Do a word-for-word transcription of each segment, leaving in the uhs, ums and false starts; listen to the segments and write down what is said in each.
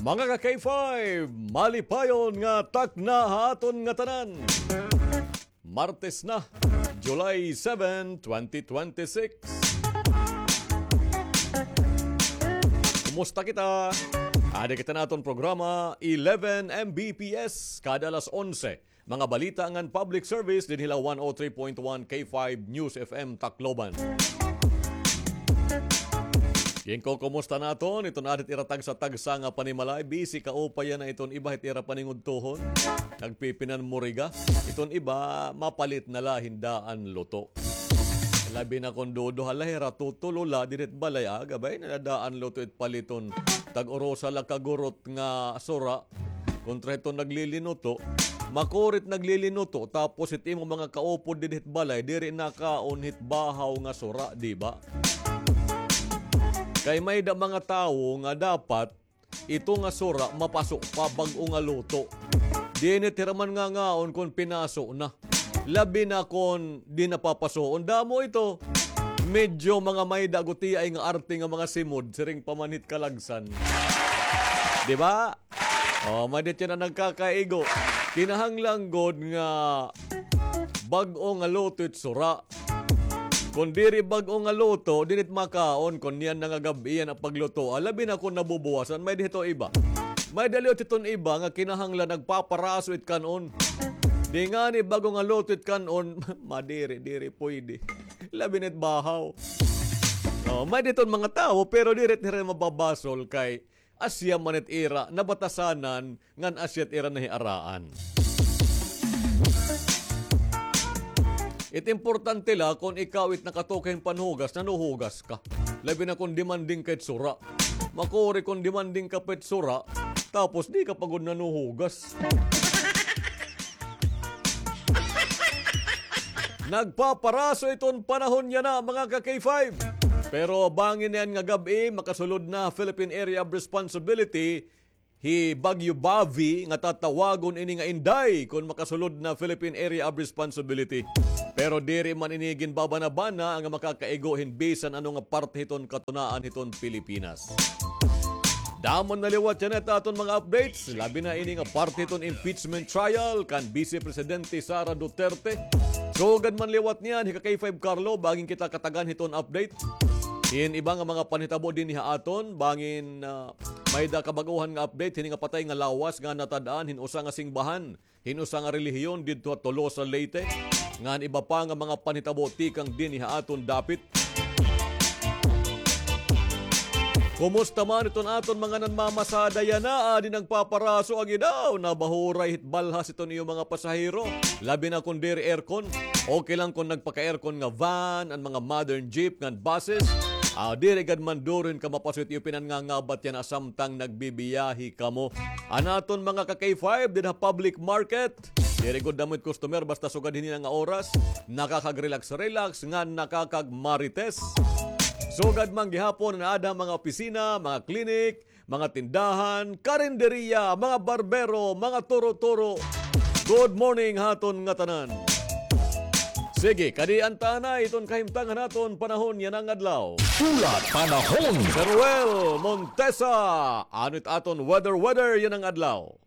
Mga ka-K five, malipayon nga takna ha aton ngatanan. Martes na, July seven, twenty twenty-six. Kumusta kita? Adi kita naton programa, eleven M B P S, kada alas onse. Mga balita ngan public service dinhi la one oh three point one K five News F M Tacloban. Ginko, kumusta naton iton adit ira tagsa-tagsa nga panimalay? Busy kaupay yana iton iba hit ira paningudtohon. Nagpipinanmuriga. Iton iba, mapalit na la hin daan luto. Labi na kon duduha la hira, tutulo la dinhi hit balay, ah, gabay na la daan luto it paliton. Tag-urusa la ka gurot nga sura. Kontra hiton naglilinuto, makuri it naglilinuto, tapos it imo mga kaupod didi hit balay, diri nakaon hit bahaw nga sura, di ba? Kay may-ada mga tawo nga dapat ito nga sura mapaso pa, bag-o nga luto. Dinhi hira man ngangaon kon pinaso na. Labi na kon di na papasuon. Damo ito. Medyo mga may-ada gutiay nga arte nga mga simod, siring pa man hit kalagsan. Di ba? Oh, may-ada tiyan na nagkakaigo. Kinahanglan gud nga bag-o nga luto it sura. Kon diri bag-o nga luto, diri it makaon, kon niyan na nga gab-i an pagluto. Ah, labi na kon nabubuwasan, may-ada hito iba. May-ada liwat hiton iba nga kinahanglan nagpaparaso it kan-on. Di ngani bag-o nga luto it kan-on, madiri, diri pwede. Labi na it bahaw. Oh, may-ada hiton mga tawo, pero diri hira mababasol kay asya man it ira nabatasanan ngan asya it ira nahiaraan. It importante la kon ikaw it nakatuki hin panhugas, nanuhugas ka. Labi na kon demanding ka hit sura. Makuri kon demanding ka pa hit sura, tapos di ka pa gud nanuhugas. Nagpaparaso iton panahon yana, mga ka-K five. Pero bangin niyan nga gab-i, makasulod na Philippine Area of Responsibility hi Bagyo Bavi, nga tatawagon ini nga Inday kon makasulod na Philippine Area of Responsibility. Pero diri man ini ginbabana-bana nga makakaigo hin bisan ano nga parte hiton katunaan hiton Pilipinas. Damo na liwat yana it aton mga updates, labi na ini nga parte hiton impeachment trial kan Vice Presidente Sara Duterte. Sugad man liwat niyan, hi ka-K five Carlo, bangin kita katagan hiton update hin iba nga mga panhitabo dinhi ha aton, bangin, ah, may-ada kabag-ohan nga update hini nga patay nga lawas nga natad-an hin usa nga singbahan hin usa nga relihiyon didto ha Tolosa, Leyte, ngan iba pa nga mga panhitabo tikang dinhi ha aton dapit. Kumusta man iton aton mga nanmamasada yana, adi nagpaparaso, agi daw, nabahuray hit balhas iton iyo mga pasahero, labi na kon diri aircon. Okay lang kon nagpaka-aircon nga van, an mga modern jeep ngan buses. Ah, diri gad man duro hin kamapaso it iyo pinanngangabat yana samtang nagbibiyahe kamo. An aton mga ka-K five dida ha public market, diri gud damo it customer basta sugad hini nga oras. Nakakag-relax-relax ngan nakakagmarites. Sugad man gihapon an aada mga opisina, mga klinik, mga tindahan, karinderiya, mga barbero, mga turo-turo. Good morning ha aton ngatanan. Sige, kadi an tanan iton kahimtang han aton panahon yana nga adlaw. Hulat panahon. Sir Ruel Montesa, ano it aton weather, weather yana nga adlaw?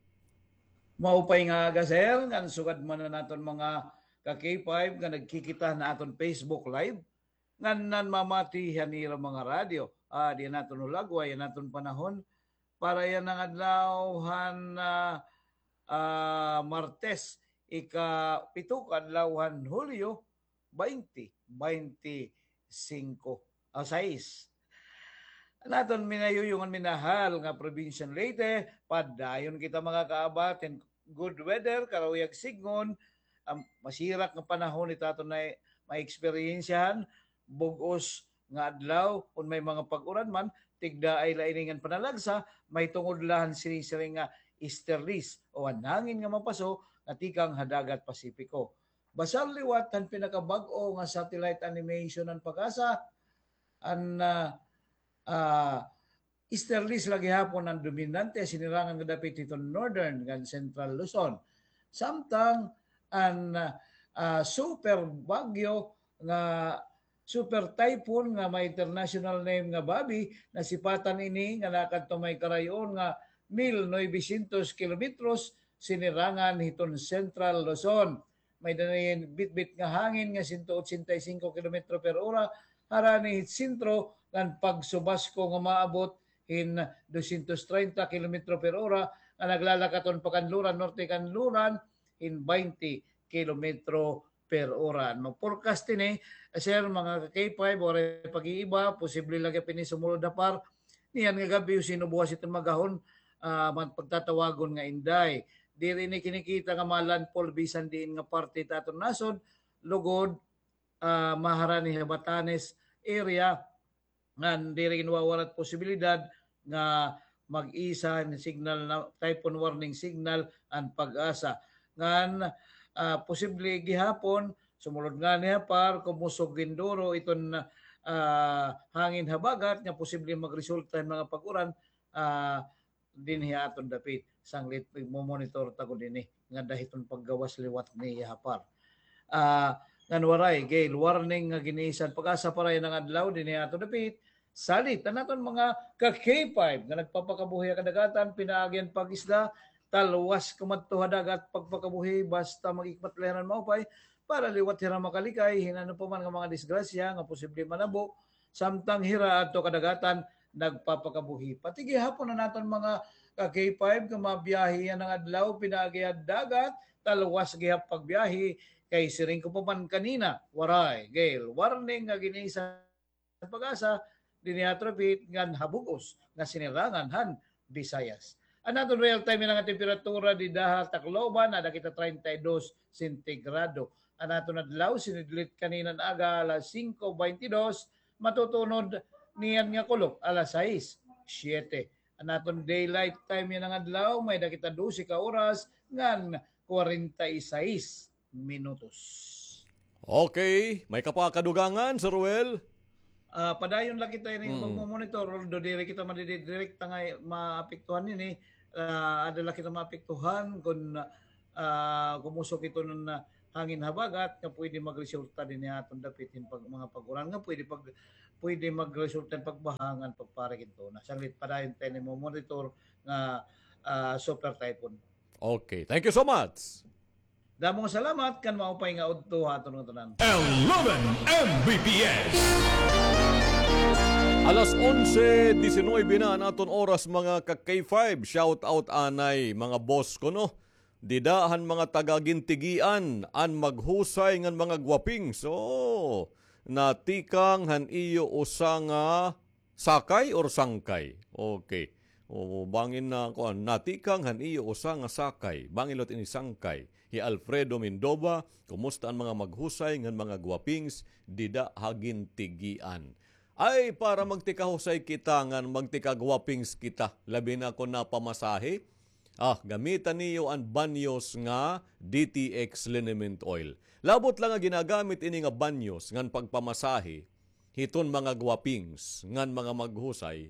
Maupay nga aga, sir, ngan sugad man an aton mga ka-K five nga nagkikita han aton Facebook Live, ngan nanmamati han ira mga radyo. Ah, di naton hulagway an aton panahon para yana nga adlaw han, ah, ah, Martes, ika-pito ka adlaw han Hulyo, baynte, baynte singko, ah, sais. An aton minayuyo ngan minahal nga probinsya han Leyte, padayon kita makakaabat hin good weather, karuyag sidngon, an masirak nga panahon it aton na ma-eksperyensyahan, bug-os nga adlaw, kon may mga pag-uran man, tigdaay la ini ngan panalagsa, mahitungod la han sinisiring nga easterlies o an hangin nga mapaso nga tikang ha dagat Pasipiko. Basar liwat han pinakabag-o nga satellite animation han PAGASA, an, ah, ah, easterlies la gihapon an dominante, sinirangan nga dapit hiton northern ngan central Luzon. Samtang an, ah, super bagyo nga super typhoon nga may international name nga Babi, nasipatan ini nga nakadto may karayon nga mil novecientos kilometros sinirangan hiton Central Luzon. May-ada ini bitbit nga hangin nga sento otsenta y singko kilometro per ora, harani hit sentro ngan pagsubasko nga maabot hin dosyentos treinta kilometro per ora, nga naglalakat-on pa Kanluran, norte Kanluran, hin baynte kilometro per ora. No, forecast ini, sir, mga ka-K five, waray pag-iiba, posible la gihap ini sumulod ha par. Niyan nga gab-i, usin o buwas iton mag-ahon, ah, man-, pagtatawagon nga Inday. Diri ini kinikita nga ma-landfall bisan diin nga parte ta aton nasod, lugod, ah, maharani ha Batanes area, ngan diri ginwawarat posibilidad nga mag-isa hin signal na, typhoon warning signal an Pag-asa. Ngan, ah, posible gihapon, sumulod ngani ha par, kumusog hin duro iton, ah, hangin habagat nga posible magresulta hin mga pag-uran, ah, dinhi ha aton dapit. Sanglit, mo-monitor ta gud ini nga dida hiton paggawas liwat niya ha par. Ah, ngan waray gale warning nga gin-isa han Pag-asa para yana nga adlaw dinhi ha aton dapit. Salit an aton mga ka-K five nga nagpapakabuhi ha kadagatan, pinaagi han pag-isda, talwas kumadto ha dagat pagpakabuhi, basta mag-ikmat la hira hin maupay para liwat hira makalikay hin ano pa man nga mga disgrasya nga posible manabo samtang hira adto kadagatan nagpapakabuhi. Pati gihapon an aton mga ka-K five nga mabiyahe yana nga adlaw, pinaagi ha dagat, talwas gihap pagbiyahe, kay siring ko pa man kanina, waray gale warning nga gin-isa han Pag-asa dinhi ha aton dapit ngan ha bug-os nga sinirangan han Visayas. An aton real time yana nga temperatura dida ha Tacloban, ada kita treinta y dos sentigrado. An aton adlaw, sinidlit kanina nga aga alas singko beintidos, matutunod niyan nga kulop alas sais, siyete. An aton daylight time yana nga adlaw, may-ada kita dose ka oras ngan kwarenta y sais minutos. Okay, may ka pa kadugangan, Sir Ruel? Ah, padayon la kita ini Mm. magmo-monitor, although diri kita madidirekta nga maapektuhan ini. Ah, ada la kita maapektuhan kon, ah, kumusog iton hangin habagat nga pwede magresulta dinhi ha aton dapit hin pag-, mga pag-uran nga pwede pag-, pwede magresulta hin pagbaha ngan pagparik hin tuna. Sanglit padayon ta ini mo-monitor nga, ah, super typhoon. Okay. Thank you so much. Damo nga salamat, ngan maupay nga udto ha aton ngatanan. Eleven M B P S. Alas onse diecinueve na an aton oras, mga ka-K five. Shout out anay, mga boss ko, no? Dida han mga taga Gintigian, an maghusay ngan mga gwapings. So, natikang han iyo usa nga sakay or sangkay? Okay. O, bangin na, kuan, natikang han iyo usa nga sakay. Bangin liwat ini sangkay. Hi Alfredo Mindova, kumusta an mga maghusay ngan mga gwapings dida ha Gintigian? Ay, para magtikahusay kita ngan magtikagwapings kita, labi na kon napamasahe. Ah, gamita niyo an banyos nga D T X liniment oil. Labot la nga ginagamit ini nga banyos ngan pagpamasahe hiton mga gwapings ngan mga maghusay,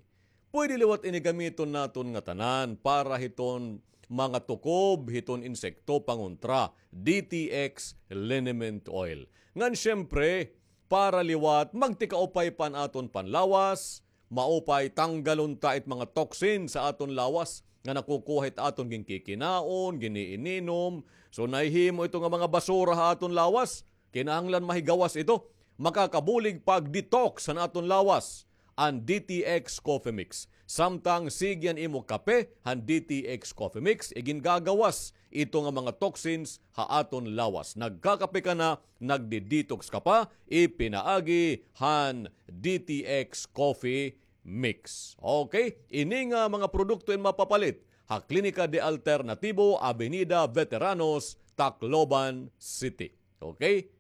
pwede liwat ini gamiton naton ngatanan para hiton mga tukob, hiton insekto, pangontra, D T X liniment oil. Ngan siyempre, para liwat magtikaupay pa an aton panlawas, maupay tanggalon ta it mga toxin sa aton lawas nga nakukuha hit aton ginkikinaon, giniininom. So, nahihimo ito nga mga basura ha aton lawas. Kinahanglan mahigawas ito. Makakabulig pag-detox han aton lawas an D T X Coffee Mix. Samtang sige an imo kape han D T X Coffee Mix, igingagawas ito nga mga toxins ha aton lawas. Nagkakape ka na, nagdi-detox ka pa, ipinaagi han D T X Coffee Mix. Okay? Ini nga mga produkto in mapapalit ha Klinika de Alternatibo, Avenida Veteranos, Tacloban City. Okay?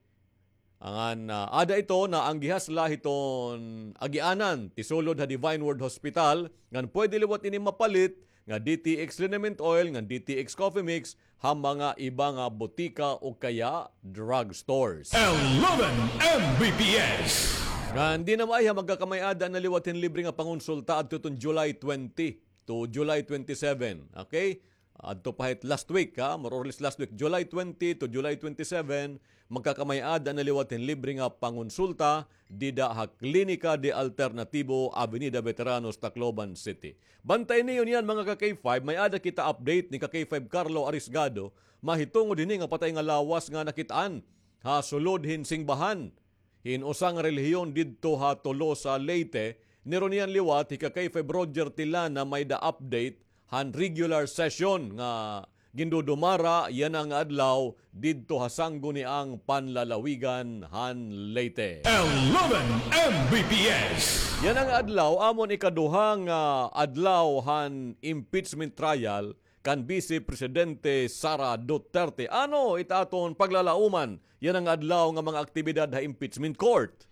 Ngan, ah, ada ito naanggihas la hiton agianan, ti sulod ha Divine Word Hospital, ngan pwede liwat ini mapalit nga D T X liniment oil, ngan D T X coffee mix, ha mga iba nga botika o kaya drugstores. Eleven M B P S. Ngan di na maay ha magkakamay-ada na liwat hin libre nga pangonsulta adto hiton July twenty to July twenty-seven. Okay? Adto pa hit last week, ha? More or less last week, July twenty to July twenty-seven, magkakamay-ada na liwat hin libre nga pangonsulta dida ha Klinika de Alternativo, Avenida Veteranos, Tacloban City. Bantay niyo niyan, mga ka-K five, may-ada kita update ni ka-K five Carlo Arisgado, mahitungod hini nga patay nga lawas nga nakit-an ha sulod hin singbahan hin usa nga relihiyon didto ha Tolosa, Leyte. Nirunian liwat hi ka-K five Roger Tilana may-ada update han regular session nga gindudumara yana nga adlaw didto ha Sangguniang Panlalawigan han Leyte. Eleven M B P S. Yana nga adlaw, amon ikaduha nga adlaw han impeachment trial kan Vice Presidente Sara Duterte. Ano it aton paglalauman yana nga adlaw nga mga aktibidad ha impeachment court?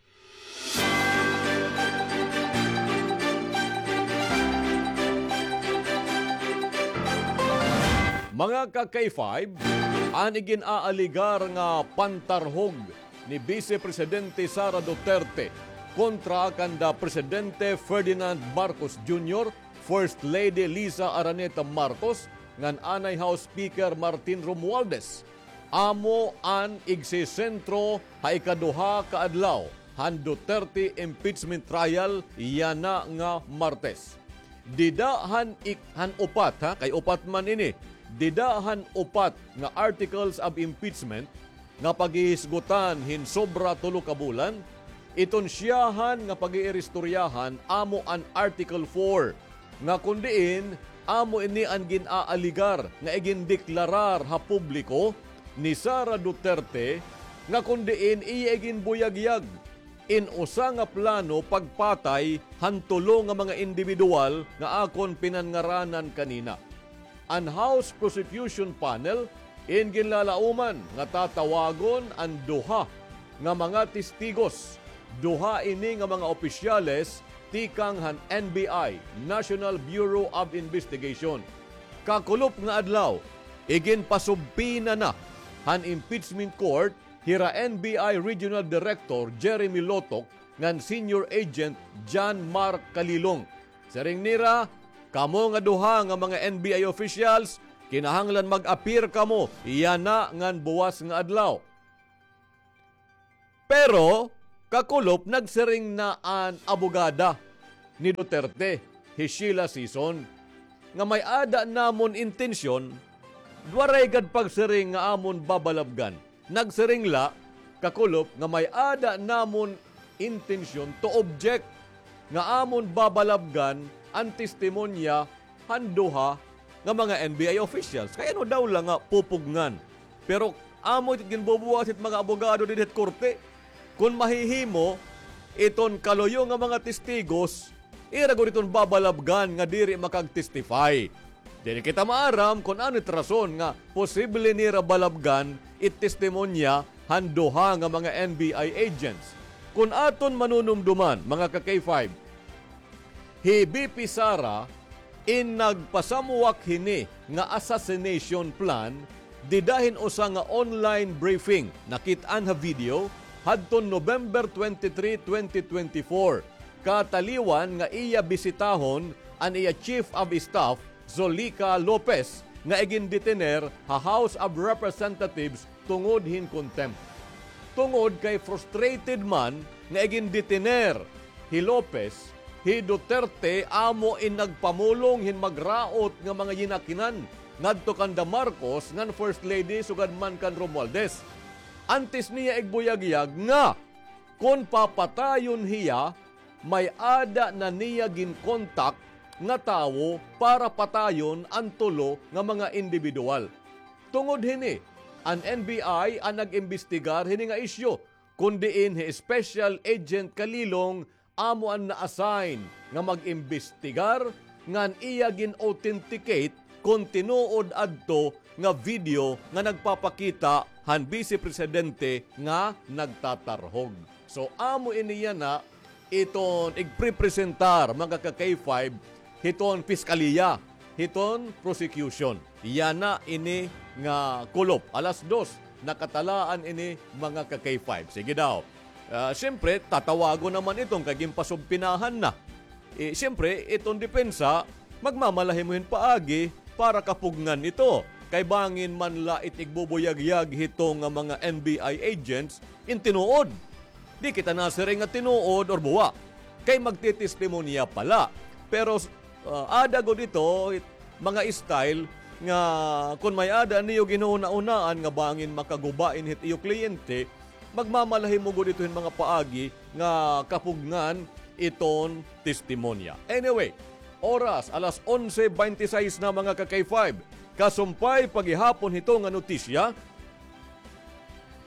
Mga ka-K five, an igin-aaligar nga pantarhog ni Vice Presidente Sara Duterte kontra kanda Presidente Ferdinand Marcos Junior, First Lady Liza Araneta Marcos, ngan anay House Speaker Martin Romualdez. Amo an igsisentro ha ikaduha ka adlaw han Duterte impeachment trial yana nga Martes. Dida han ik-, han upat, ha, kay upat man ini. Dida han upat nga articles of impeachment nga paghihisgutan hin sobra tulo ka bulan, iton siyahan nga pag-iiristoryahan amo an Article four, nga kon diin amo ini an gin-aaligar nga igindeklarar ha publiko ni Sara Duterte, nga kon diin iya iginbuyagyag in usa nga plano pagpatay han tulo nga mga indibidwal nga akon pinanngaranan kanina. An House Prosecution Panel in ginlalauman nga tatawagon an duha nga mga testigos. Duha ini nga mga opisyales tikang han N B I, National Bureau of Investigation. Kakulop nga adlaw, iginpasubpina na han impeachment court hira N B I Regional Director Jeremy Lotok ngan Senior Agent John Mark Kalilong. Siring nira, kamo nga duha nga mga N B I officials, kinahanglan mag-appear kamo yana ngan buwas nga adlaw. Pero, kakulop, nagsiring na an abogada ni Duterte, hi Sheila Sison, nga may-ada namon intensyon, waray gad pagsiring nga amon babalabgan. Nagsiring la, kakulop, nga may-ada namon intensyon to object nga amon babalabgan an testimonya han duha nga mga N B I officials. Kay ano daw la nga pupugngan? Pero amo it ginbubuhat hit mga abogado didi hit korte. Kon mahihimo, iton kaluyo nga mga testigos, ira gud iton babalabgan nga diri makag-testify. Diri kita maaram kon ano it rason nga posible nira balabgan it testimonya han duha nga mga N B I agents. Kon aton manunumduman, mga ka-K five, hi V P Sara in nagpasamwak hini nga assassination plan dida hin usa nga online briefing nakit-an ha video hadton November twenty-three, twenty twenty-four, kataliwan nga iya bisitahon an iya Chief of Staff Zolica Lopez nga igindetener ha House of Representatives tungod hin contempt. Tungod kay frustrated man nga igindetener hi Lopez, hi Duterte amo in nagpamulong hin magraot nga mga yinakinan ngadto kanda Marcos ngan First Lady sugad man kan Romualdez. Antes niya igbuyagyag nga kon papatayon hiya, may-ada na niya ginkontak nga tawo para patayon an tulo nga mga indibidwal. Tungod hini, an N B I an nag-imbestigar hini nga isyu, kon diin hi Special Agent Kalilong amo an na-assign nga mag-imbestigar ngan iya gin-authenticate kon tinuod adto nga video nga nagpapakita han Vice Presidente nga nagtatarhog. So, amo ini yana iton igprepresentar, mga ka-K five, hiton piskaliya, hiton prosecution. Yana ini nga kulop. Alas dos, nakatalaan ini, mga ka-K five. Sige daw. Ah, siyempre, tatawagon naman iton kay ginpasubpinahan na. Eh, siyempre, iton depensa, magmamalahi mo hin paagi para kapugngan ito. kay bangin man la it igbubuyagyag hito nga mga N B I agents in tinuod. Di kita nasiring nga tinuod or buwa, kay magtitestimonya pa la. Pero, ah, ada gud ito, it-, mga style nga kun may-ada niyo ginhuna-hunaan nga bangin makaguba ini hit iyo kliyente, magmamalahi mo gud ito hin mga paagi nga kapugngan iton testimonya. Anyway, oras, alas onse bente seis na, mga ka-K five. Kasumpay pa gihapon hito nga notisya,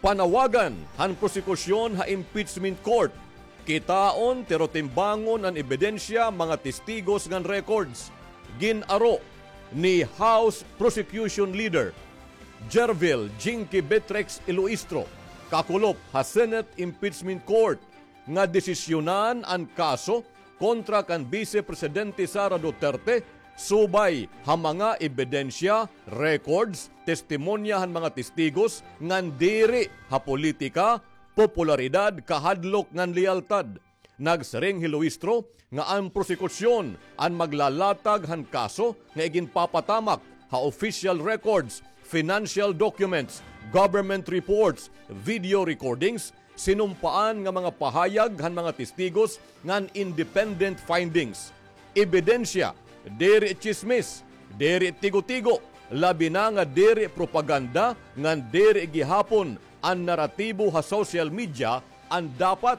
panawagan han prosekusyon ha impeachment court. Kitaon, tirotimbangon an ebidensya, mga testigos ngan records. Gin-aro ni House Prosecution Leader Jervil Jinky Betrex Iloistro, kakulop ha Senate Impeachment Court, nga desisyonan an kaso kontra kan Bise Presidente Sara Duterte subay ha mga ebidensya, records, testimonya han mga testigos ngan diri ha politika, popularidad, kahadlok ngan leyaltad. Nagsiring hi Luistro nga an prosekusyon an maglalatag han kaso nga iginpapatamak ha official records, financial documents, government reports, video recordings, sinumpaan nga mga pahayag han mga testigos ngan independent findings. Ebidensya, diri tsismis, diri tigo-tigo, labi na nga diri propaganda ngan diri gihapon an naratibo ha social media an dapat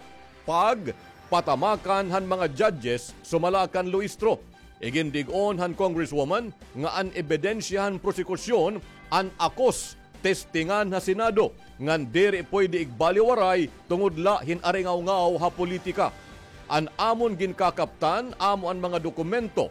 pagpatamakan han mga judges, sumala kan Luistro. Igindig-on han Congresswoman nga an ebidensya han prosekusyon an akos testingan ha Senado ngan diri pwede igbaliwaray tungod la hin aringawngaw ha politika. An amon ginkakaptan amo an mga dokumento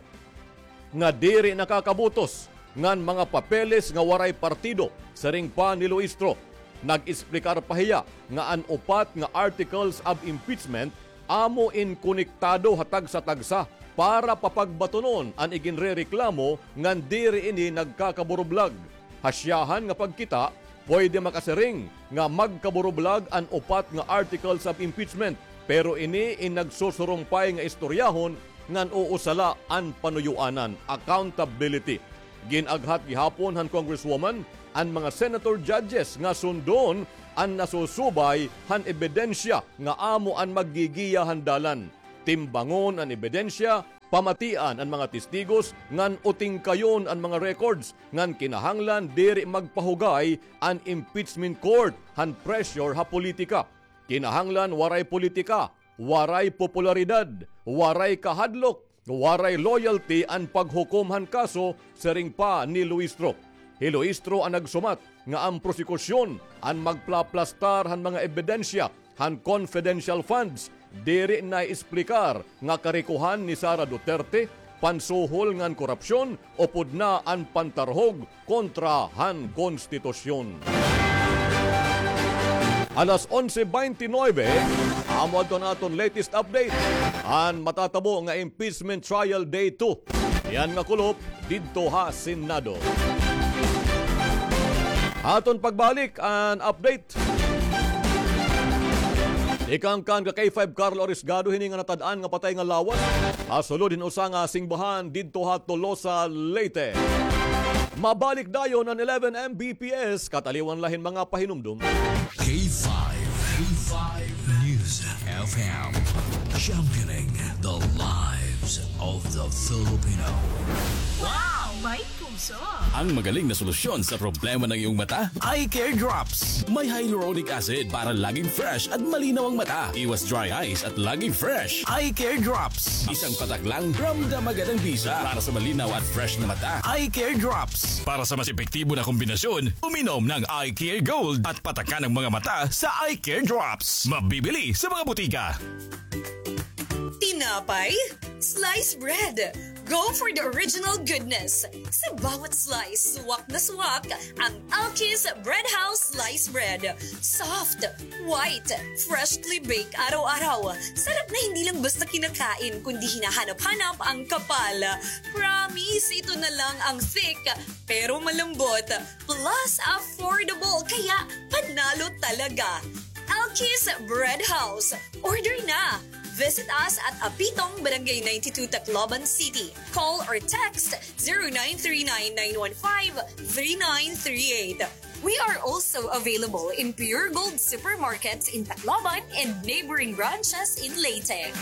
nga diri nakakabutos ngan mga papeles nga waray partido, siring pa ni Luistro. Nag-esplikar pa hiya nga an upat nga articles of impeachment amo in konektado ha tagsa-tagsa para papagbatunon an iginrereklamo ngan diri ini nagkakaburublag. Ha siyahan nga pagkita, pwede makasiring nga magkaburublag an upat nga articles of impeachment, pero ini in nagsusurumpay nga istoryahon ngan uusala an panuyoanan, accountability. Gin-aghat gihapon han Congresswoman an mga senator judges nga sundon an nasusubay han ebidensya nga amo an maggigiya han dalan. Timbangon an ebidensya, pamatian an mga testigos, ngan utingkayon an mga records, ngan kinahanglan diri magpahugay an impeachment court han pressure ha politika. Kinahanglan waray politika, waray popularidad, waray kahadlok, waray loyalty an paghukom han kaso, siring pa ni Luistro. Hi Luistro an nagsumat nga an prosekusyon an magplaplastar han mga ebidensya han confidential funds, diri naiesplikar nga karikohan ni Sara Duterte, pansuhol ngan korupsyon, upod na an pantarhog kontra han konstitusyon. Alas onse bente nuebe, amo adto an aton latest update. An matatabo nga impeachment trial day two. Iyan nga kulop didto ha Senado. Aton pagbalik an update. Tikang kan ka-K five Carlo Arisgado hini nga natad-an nga patay nga lawas ha sulod hin usa nga singbahan didto ha Tolosa, Leyte. Mabalik dayon an eleven M B P S, kataliwan la hin mga pahinumdom. K five, K five News F M, championing the lives of the Filipino. Wow! May puso! Ang magaling na solusyon sa problema ng iyong mata, Eye Care Drops. May hyaluronic acid para laging fresh at malinaw ang mata. Iwas dry eyes at laging fresh. Eye Care Drops. Isang patak lang, ramdam agad ang bisa. Para sa malinaw at fresh na mata, Eye Care Drops. Para sa mas epektibo na kombinasyon, uminom ng Eye Care Gold at patakan ang mga mata sa Eye Care Drops. Mabibili sa mga butika. Tinapay? Slice bread. Go for the original goodness. Sa bawat slice, swak na swak ang Alki's Bread House Slice Bread. Soft, white, freshly baked araw-araw. Sarap na hindi lang basta kinakain, kundi hinahanap-hanap ang kapal. Promise, ito na lang ang thick, pero malambot. Plus, affordable, kaya panalo talaga. Alki's Bread House. Order na! Visit us at Apitong, Barangay ninety-two, Tacloban City. Call or text zero nine three nine nine one five three nine three eight. We are also available in Pure Gold supermarkets in Tacloban and neighboring branches in Leyte.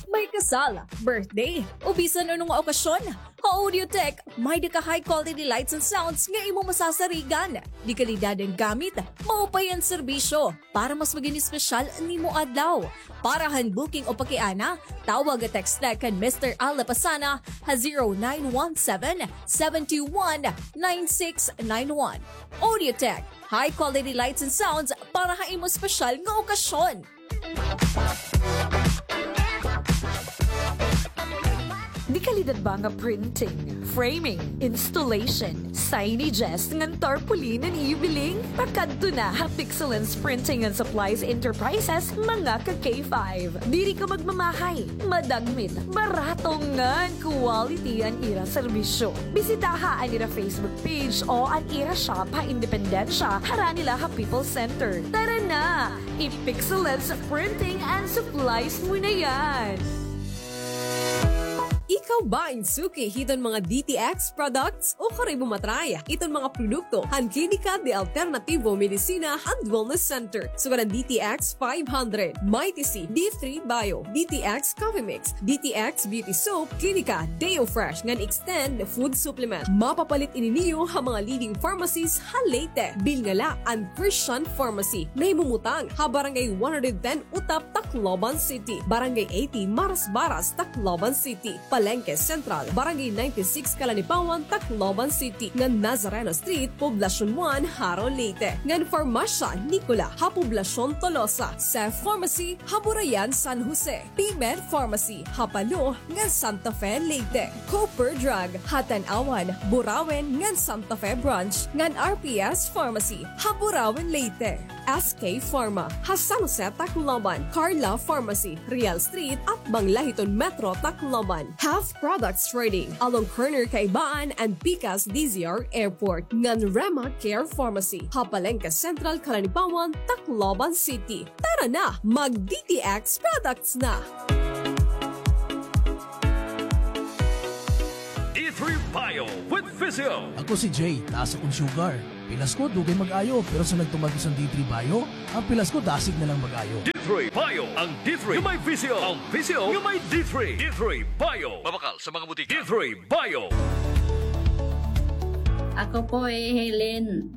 May kasal, birthday, o bisan ano nga okasyon, ha Audiotech, may-ada ka high quality lights and sounds nga imo masasarigan. De kalidad an gamit, maupay an serbisyo, para mas magin espesyal an imo adlaw. Para han booking o pakiana, tawag o text la kan Mister Al Lapasana ha zero nine one seven, seven two one, nine six nine one. Audiotech, high quality lights and sounds para ha imo espesyal nga okasyon. Di kalidad ba nga printing, framing, installation, signages ngan tarpaulin an iyo biling? Pakadto na ha Pixelance Printing and Supplies Enterprises, mga ka K five. Diri ka magmamahay, madagmit, barato ngan quality an ira serbisyo. Bisitaha an ira Facebook page o an ira shop ha Independencia, harani la ha People's Center. Tara na! I-Pixelance Printing and Supplies mo na yan! Ikaw ba in suki hiton mga D T X products? O karay mo matry iton mga produkto han Klinika de Alternativo Medicina and Wellness Center? Sugad an D T X five hundred, Mighty C, D three Bio, D T X Coffee Mix, D T X Beauty Soap, Klinika Deo Fresh ngan Extend Food Supplement. Mapapalit ini niyo ha mga leading pharmacies ha Leyte. Bilnga la an Christian Pharmacy, nahimumutang ha Barangay one hundred ten Utap, Tacloban City, Barangay eighty Marasbaras, Tacloban City, Palengke Central, Barangay ninety-six Calanipawan, Tacloban City, ngan Nazareno Street, Poblacion one, Jaro, Leyte, ngan Farmasya Nicola ha Poblacion Tolosa, Seth Pharmacy ha Burayan, San Jose, P-Med Pharmacy ha Palo ngan Santa Fe, Leyte, Cooper Drug ha Tanauan, Burauen ngan Santa Fe Branch, ngan R P S Pharmacy ha Burauen, Leyte. S K Pharma ha San Jose, Tacloban, Carla Pharmacy, Real Street, atbang la hiton Metro Tacloban. Health Products Trading, along corner Kaibaan and Pikas D Z R Airport, ngan Rema Care Pharmacy ha Palengke Central, Calanipawan, Tacloban City. Tara na, mag D T X products na! D three Bio with Visio. Ako si Jay, taas akon sugar. Pilas ko, dugay mag-ayo, pero sa nagtuman ko sa D three Bio, an pilas ko dasig na lang mag-ayo. D three Bio, ang D three nga may Visio, ang Visio nga may D three. D three Bio. Mabakal sa mga butika. D three Bio. Ako po hi Helen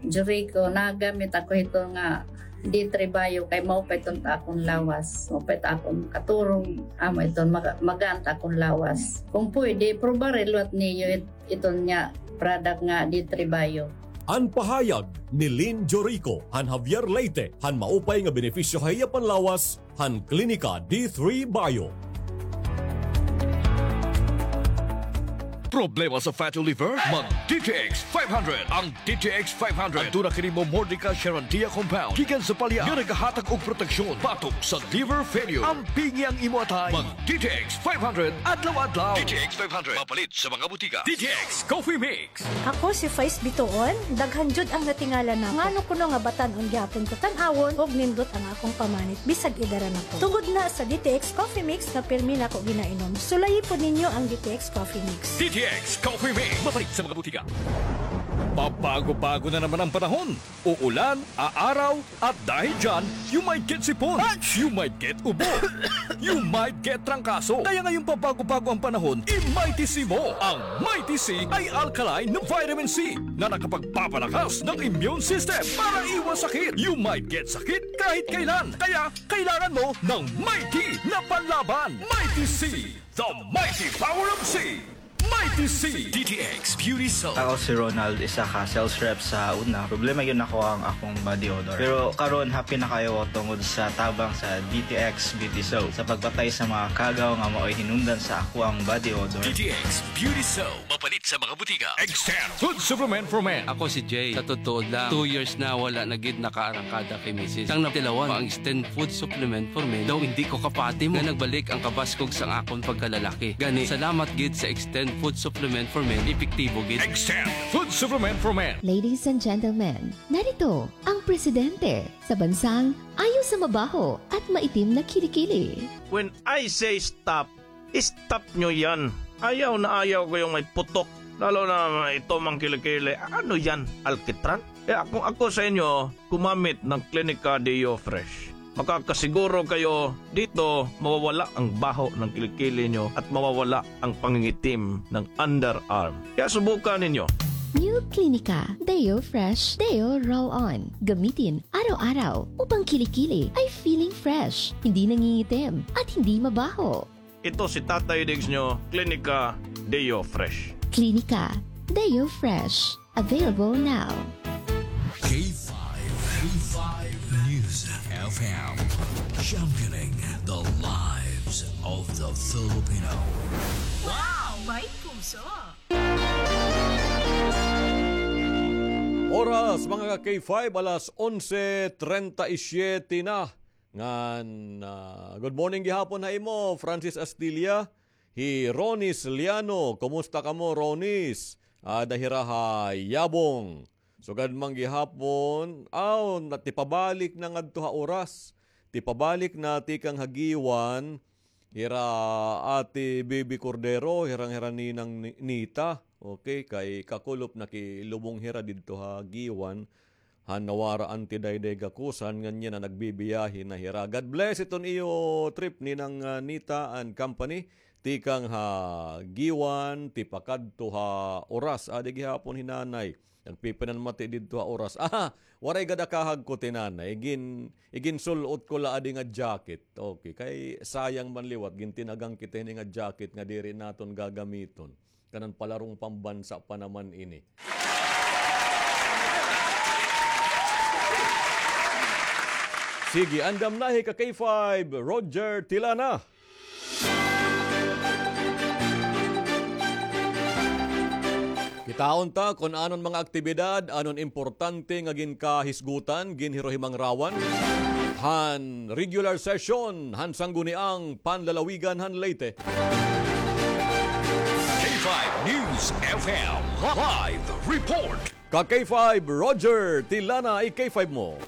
Jurico, nagamit ako hito nga D three Bio kay maupay iton ta akon lawas. Maupay ta akon katurog, amo iton maga-, magaan ta akon lawas. Kung pwede, probare liwat niyo it-, iton nga product nga D three Bio. An pahayag ni Lynn Jorico han Javier, Leyte, han maupay nga benepisyo ha iya panlawas han Klinika D three Bio. Problema sa fatty liver? Mag D T X five hundred. Ang D T X five hundred. Aduna kini Momordica Charandia compound gikan sa palya nga nagahatag og proteksyon batok sa liver failure. Ampingi ang imo atay. Mag D T X five hundred adlaw-adlaw. D T X five hundred. Mapalit sa mga butika. D T X Coffee Mix. Ako si Faiz Bituon, daghan jud ang natingala nako. Ngano kuno nga batan-on gihapon ko tan-awon ug nindot ang akong pamanit bisag edara na ko. Tungod na sa D T X Coffee Mix nga pirmi nako ginainom. Sulayi pod ninyo ang D T X Coffee Mix. D T X Coffee Mix. Mapalit sa mga butika. Pabago-bago na naman ang panahon. Uulan, aaraw, at dahil dyan, you might get sipon, you might get ubo, you might get trangkaso. Kaya ngayong pabago-bago ang panahon, i-Mighty C mo. Ang Mighty C ay alkaline na vitamin C na nakapagpapalakas ng immune system para iwas sakit. You might get sakit kahit kailan. Kaya kailangan mo ng Mighty na panlaban. Mighty C, the mighty power of C. Mighty C. D T X Beauty Soap. Ako si Ronald, isa ka sales rep sa una. Problema gyud nako ang akong body odor. Pero karon, happy na kaayo ako tungod sa tabang sa D T X Beauty Soap sa pagpatay sa mga kagaw nga maoy hinungdan sa akoang body odor. D T X Beauty Soap. Mapalit sa mga butika. Extend Food Supplement for Men. Ako si Jay. Sa totoo lang, two years na wala na gid nakaarangkada kay misis. Sang natilawan, ang Extend Food Supplement for Men daw hindi ko kapatimo nga nagbalik ang kabaskog sang akon pagkalalaki. Gani, salamat gid sa Extend Food Supplement for men, epektibo gid. Extend food supplement for men. Ladies and gentlemen, narito ang presidente sa bansang ayaw sa mabaho at maitim na kilikili. When I say stop, stop nyo yan. Ayaw na ayaw ko yung may putok. Lalo na ito mang kilikili. Ano yan? Alkitran? Kaya kung ako sa inyo, gumamit ng Clinica Deo Fresh. Makakasiguro kayo dito mawawala ang baho ng kilikili nyo at mawawala ang pangingitim ng underarm. Kaya subukan ninyo. New Clinica Deo Fresh Deo Roll On. Gamitin araw-araw upang kilikili ay feeling fresh, hindi nangingitim, at hindi mabaho. Ito si Tatay Diggs nyo, Clinica Deo Fresh. Clinica Deo Fresh. Available now. K five, K five News F M, championing the lives of the Filipino. Wow! May puso! Oras, mga ka-K five, alas onse treinta y siete na. Ngan, ah, good morning gihapon ha imo, Francis Astilla. Hi Ronis Liano, kumusta kamo, Ronis? Ada hira ha Yabong. Sugad man gihapon, aw, na, tipabalik na ngadto ha Oras. Tipabalik na tikang ha Guiuan, hira Ate Bibi Cordero, hirang-hira Ninang Ni-, Nita. Okay, kay kakulop nakilubong hira didto ha Guiuan. Han nawara anti dayday gakusan, ngan yana nagbibiyahe na hira. God bless iton iyo trip, Ninang, ah, Nita and company. Tikang ha Guiuan, tipakadto ha Oras. Adi gihapon hi Nanay. Nagpipinanmati didto ha Oras. Aha, waray gad akahag ko, ti Nanay. Igin-, iginsul-ot ko la adi nga jacket. Okay, kay sayang man liwat, gintinagan kita hini nga jacket nga diri naton gagamiton. Kanan palarong pambansa pa naman ini. Sige, andam na hi ka K five, Roger Tilana. Kitaon ta kon anon mga aktibidad, anon importante nga ginkahisgutan, ginhirohimangrawan han regular session han Sangguniang Panlalawigan han Leyte. K five News F M live report. Ka K five, Roger Tilana, i K five mo.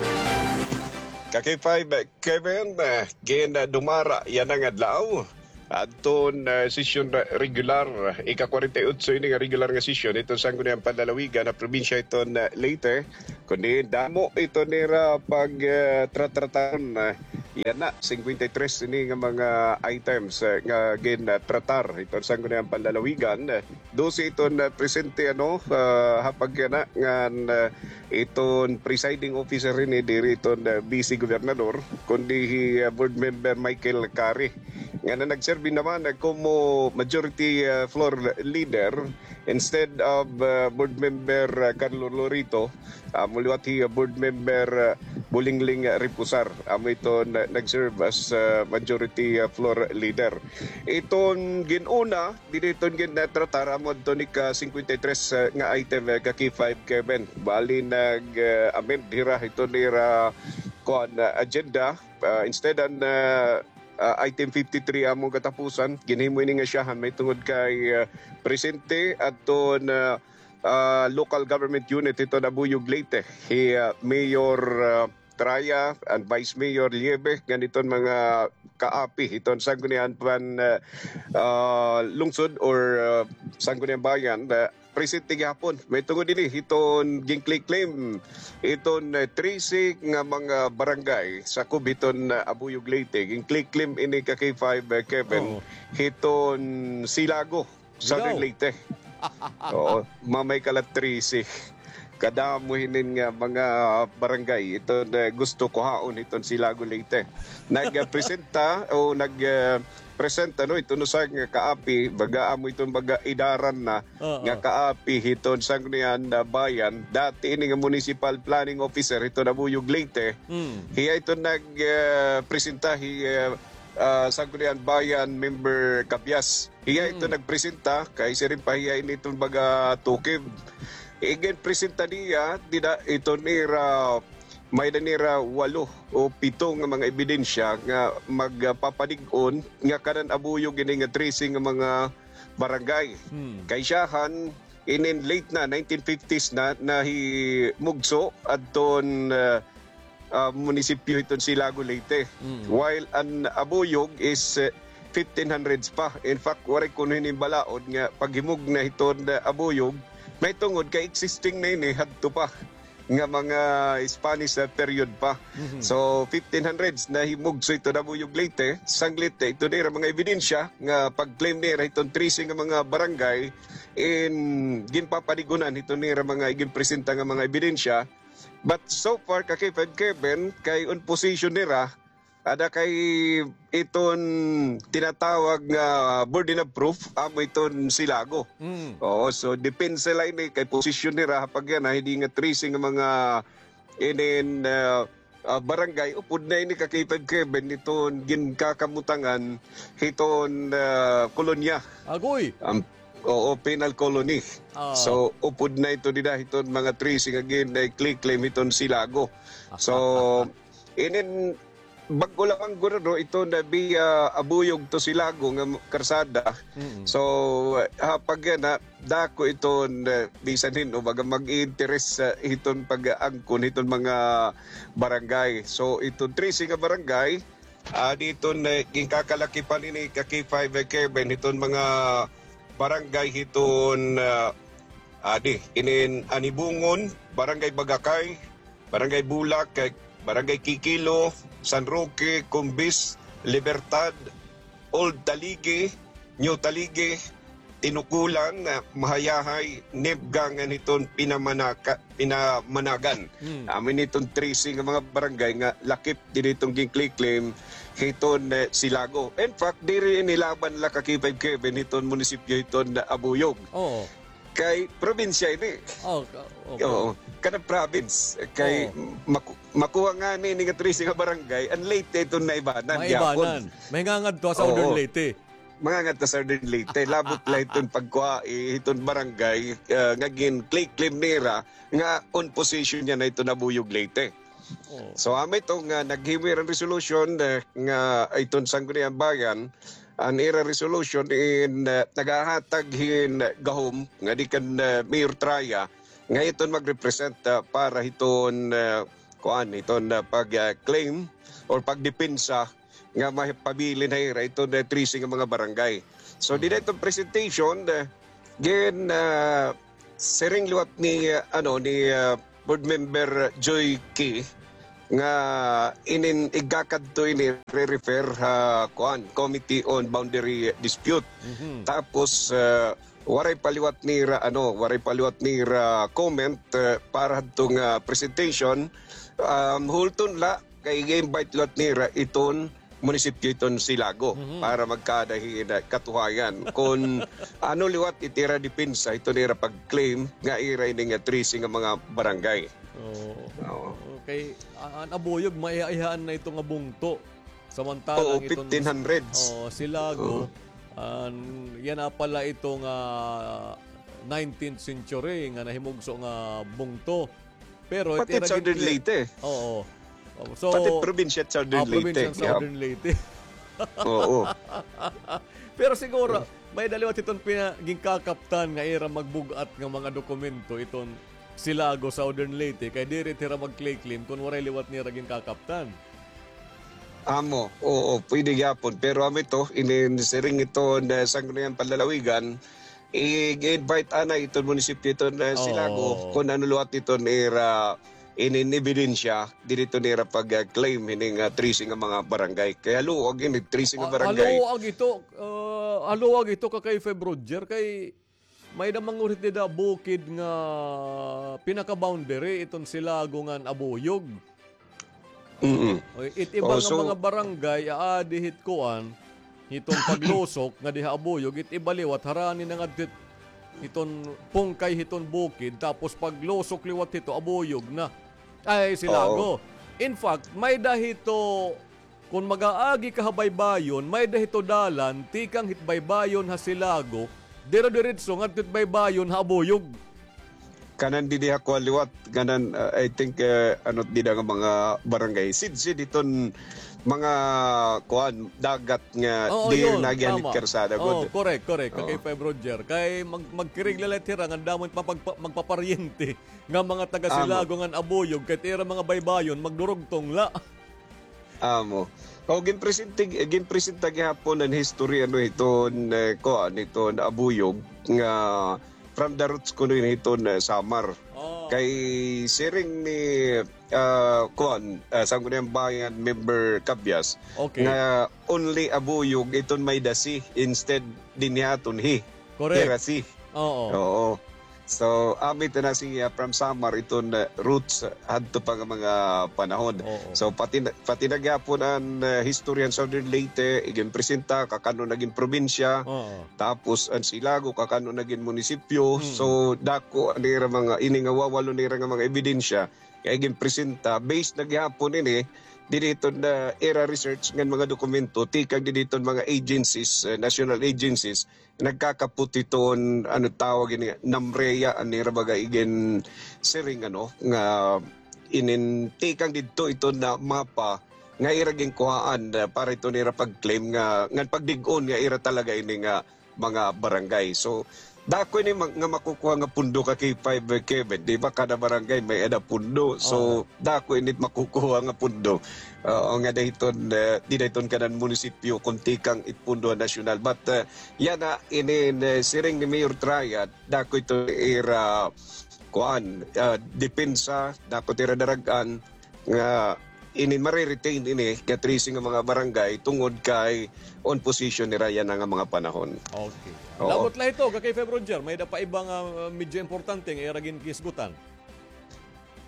Ka K five, Kevin, eh, gin, eh, dumara yana nga adlaw. Adton, eh, sesyon regular, ika-kwarenta y otso ini nga regular nga sesyon iton Sangguniang Panlalawigan ha probinsya iton, eh, Leyte. Kundi damo ito nira pag, eh, tratrataron, eh, yana, singkwenta y tres ini nga mga items, eh, nga gin, eh, tratar iton Sangguniang Panlalawigan. Dose iton, ah, presente, ano, ah, ha pagkana ngan, ah, iton presiding officer ini diri iton, ah, Vice Gobernador, kundi hi, ah, Board Member Michael Kari, nga na nagserbi naman, ah, como majority, ah, floor leader instead of, ah, Board Member, ah, Carlo Lorito. Amo liwat hi, ah, Board Member, ah, Bulingling, ah, Reposar. Amo iton, ah, nag-serve as, ah, majority, ah, floor leader. Iton gin-una, diri iton gin-tratar amo adto ni ka singkwenta y tres, ah, nga item, ah, ka K five, Kevin. Bali nag, ah, amend hira iton ira, kuan, ah, agenda. Ah, instead an, ah, ah, item fifty-three amo katapusan, ginhimo ini nga syahan mahitungod kay, ah, presente adton, ah, ah, local government unit iton Abuyog, Leyte, hi, ah, Mayor, ah, Traya and Vice Mayor Liebe, ngan iton mga kaapi hiton Sangguniang Pan, ah, ah, Lungsod or, ah, Sangguniang Bayan, ah, presente gihapon. Mahitungod ini hiton ginkliklaim iton, ah, trese nga mga barangay sakob hiton, ah, Abuyog, Leyte. Ginkliklaim ini ka K five, ah, Kevin, Oo. hiton Silago. Southern Leyte. Oo, mamay ka la trese. Kadamo hinin nga mga barangay iton, eh, gusto kuhaon hiton Silago, Leyte. Nagpresenta o nag, eh, presenta, no, iton usa nga kaapi, baga amo iton baga edaran na Oo. nga kaapi hiton Sangguniang Bayan. Dati ini nga municipal planning officer hiton Abuyog, Leyte. Mm. Hiya iton nag, eh, presenta hi, eh, ah, Sangguniang Bayan member Cabias. Hiya ito Mm. nagpresenta, kay siring pa hiya ini iton baga tukib. Iginpresenta niya, dida, iton nira, may-ada nira walo o pito nga mga ebidensya nga magpapanig-on nga kanan Abuyog ini nga trese nga mga barangay. Hmm. Kay siyahan, inin late na, nineteen fifties na, nahimugso adton, ah, ah, munisipyo hiton Silago, Leyte. Mm. While an Abuyog is, eh, fifteen hundreds pa. In fact, waray kuno hini balaod nga paghimugna hiton, ah, Abuyog, mahitungod kay existing na ini hadto pa nga mga Spanish, ah, period pa. Mhm. So, fifteen hundreds nahimugso hiton Abuyog, Leyte, sanglit, eh, ito nira mga ebidensya nga pag-claim nira hiton trese nga mga barangay in ginpapanigunan hiton nira mga iginpresenta nga mga ebidensya. But so far, ka K five Kevin, kay on position nira, ada kay iton tinatawag nga burden of proof, amo iton Silago. Mm. Oo, so depensa la ini kay posisyon nira, ha pagyan, hini nga trese nga mga inin, ah, ah, barangay, upod na ini ka K five Kevin, iton ginkakamutangan hiton, ah, kolonya. Agoy! Am, oo, penal colony. Ah. So, upod na ito dida hiton mga trese nga gin-, eh, claim hiton Silago. So, inin bag-o lamang guro, no, ito na via Abuyog to Silago nga karsada. Mm. So, ha pagyan, dako ito na bisan hin-o, baga mag-interes sa hiton pag-angkon hiton mga barangay. So, iton trese nga barangay, ah, dito na ginkakalakipan ini ka K five Kevin, hiton mga barangay hiton, ah, adi, inin Anibungon, Barangay Bagakay, Barangay Bulak, kay Barangay Kikilo, San Roque, Cumbis, Libertad, Old Taligi, New Taligi, Tinukulan, ah, Mahayahay, Nibga, ngan hiton Pinamanaka-, Pinamanagan. Hmm. Amo ini iton trese nga mga barangay nga lakip diri iton ginkliklaim hiton, eh, Silago. In fact, diri ini laban la ka K five Kevin hiton munisipyo hiton Abuyog. Oo. Kay probinsya ini. Oh, ka-, okay. Oo, kada province. Kay Oo. maku-, makuha ngani ini nga trese nga barangay, an Leyte iton naibanan gyapon. Maibanan. Mahingangadto ha Southern Oo. Leyte. Mangangadto ha Southern Leyte. Labot la iton pagkuha, eh, iton barangay, ah, nga gin-claim nira nga on position niya na iton Abuyog, Leyte. Oh. So, amo ito nga naghimo hira hin resolution, eh, nga iton Sangguniang Bayan, an ira resolution in, eh, nagahatag hin gahom ngadi kan, eh, Mayor Traya nga iton mag-represent, ah, para hiton, eh, kuan, hiton, ah, pag, ah, claim or pagdepensa nga mapabilin ha ira iton, eh, trese nga mga barangay. So, dida iton presentation, eh, gin, ah, siring liwat ni, ah, ano, ni, ah, Board Member Joy Key nga inin igakadto ini re-refer ha, kuan, Committee on Boundary Dispute. Mhm. Tapos, ah, waray pa liwat nira, ano, waray pa liwat nira comment, ah, para hadto nga presentation. Um, hulton la, kay i-invite liwat nira iton munisipyo iton Silago Mhm. para magkaada hin katuhayan kon ano liwat it ira depensa hiton ira pag-claim nga ira ini nga trese nga mga barangay. Oo. Oo. Okay, a-, an Abuyog, maiha-ihaan na ito nga bungto. Samantala Oo, an iton fifteen hundreds. Oo, Silago, Oo. an, yana pala ito nga nineteenth century nga nahimugso nga bungto. Pero Pati it ira Southern gin-, Leyte. Oo. So, Pati probinsya Southern ah, Leyte. Probinsya Yep. Southern Leyte. Oo. Pero siguro, may-ada liwat iton pina-, ginkakaptan nga ira magbug-at nga mga dokumento iton Silago, Southern Leyte, kay diri hira mag-claim kon waray liwat nira ginkakaptan. Amo, oo, pwede gyapon. Pero amo ito, inin siring ito na Sangguniang Panlalawigan, i-invite anay iton munisipyo iton, eh, Silago, Oo. kon ano liwat iton ira inin ebidensya, diri iton ira pag, ah, claim hini nga trese nga mga barangay. Kay haluag ini, trese nga Ah, barangay. haluag ito, ah, haluag ito ka kay Feb Roger, kay may-ada man gud hit dida bukid nga pinaka-boundary iton Silago ngan Abuyog. Mm-mm. Oy, it iba Oh, nga so mga barangay, aadi hit kuan, hiton paglusok nga diha Abuyog, it iba liwat, harani na ngadto hit, hiton pungkay hiton bukid, tapos paglusok liwat hito, Abuyog na. Ay, Silago. Oo. In fact, may-ada hito, kon mag-aagi ka ha baybayon, may-ada hito dalan, tikang hit baybayon ha Silago, dire-diretso ngadto hit baybayon ha Abuyog. Kanan didi ha kuan liwat, kanan, uh, I think, uh, ano dida nga mga barangay. Sidsid iton mga kuan, dagat nga Oo, di yun, nagihanit tama. Karsada, Oo, good. Correct, correct. Oo. Kay Five Roger. Kay mag-, magkirig la la it hira, nga damo it mapagpa-, magpaparyente nga mga taga Amo. Silago ngan Abuyog, kay it ira mga baybayon, magdurugtong la. Amo. O, ginpresente, ginpresenta gihapon an history, ano, hiton, eh, kuan, hiton Abuyog nga from the roots kuno ini hiton, eh, Samar. Oh. Kay siring ni, ah, kuan, ah, Sangguniang Bayan member Cabias Okay. nga only Abuyog iton may-ada C instead dinhi aton hi. Correct. Ira C. Oo. Oo. So, amo ito na siya from Samar, iton, uh, roots, uh, hadto pa nga mga panahon. Oo. So, pati na, pati na gihapon an, uh, history han Southern Leyte, iginpresenta, kakano nagin probinsya, Oo. tapos an Silago, kakano nagin munisipyo. Mm. So, dako an ira mga, ini nga wawalo nira nga mga ebidensya, nga iginpresenta, based na gihapon ini, didi iton, uh, ira research ngan mga dokumento, tikang didi iton mga agencies, uh, national agencies, nagkakapot iton, ano tawag ini, NAMREA, an ira baga iginsiring, ano, nga inin tikang didto iton na mapa nga ira ginkuhaan, ah, para iton ira pag-claim nga, ngan pagdig-on nga ira talaga ini nga mga barangay. So, dako ini ma-, nga makukuha nga pundo ka K five, eh, Kevin. Di ba, kada barangay may-ada pundo. So, Oo. dako ini makukuha nga pundo. Oo, nga dahiton, eh, di dahiton kanan munisipyo, kun tikang it pundo nasyonal. But, eh, yana, inin, eh, siring ni Mayor Triad, dako ito ira, kuan, ah, depensa, dako ito ira darag-an, nga inin mare-retain ini, nga trese nga mga barangay, tungod kay on position nira yana nga mga panahon. Okay. Oo. Labot la ito, ka K five Roger, may-ada pa iba nga, ah, medyo importante nga ira ginhisgutan.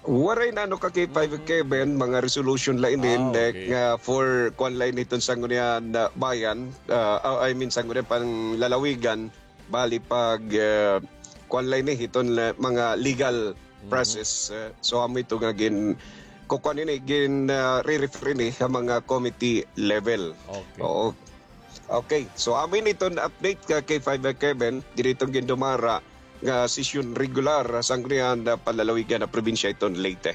Waray na, ano, ka K five Mhm. Kevin, mga resolution la inin, Ah, eh, okay. nga for kuan la ini iton Sangguniang, ah, Bayan, ah, ah, I mean, Sangguniang Panlalawigan, bali pag, ah, kuan la ini iton la mga legal Mhm. process, ah, so amo ito nga gin-, kukuan ini, gin, ah, re-refer ini ha mga committee level. Okay. Oo. Okay, so amo ini iton update ka K five Kevin, diri iton gindumara nga sesyon regular ha Sangguniang, ah, Panlalawigan ha probinsya iton Leyte.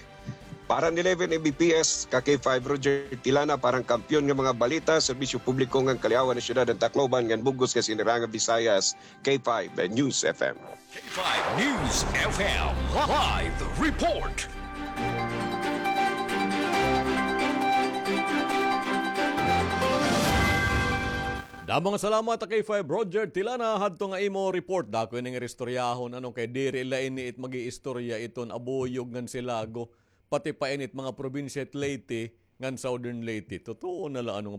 Para han eleven A B P S, ka K five Roger Tilana, para han kampiyon nga mga balita, serbisyo publiko ngan kaliawan han syudad han Tacloban ngan bug-os nga Sinirangan Visayas, K five News F M. K five News F M live report. Damo nga salamat, K five Roger Tilana, hadto nga imo report. Dako ini nga istoryahon, ano, kay diri la ini it mag-iistorya iton Abuyog ngan Silago, pati pa ini it mga probinsya it Leyte ngan Southern Leyte. Totoo na la, ano,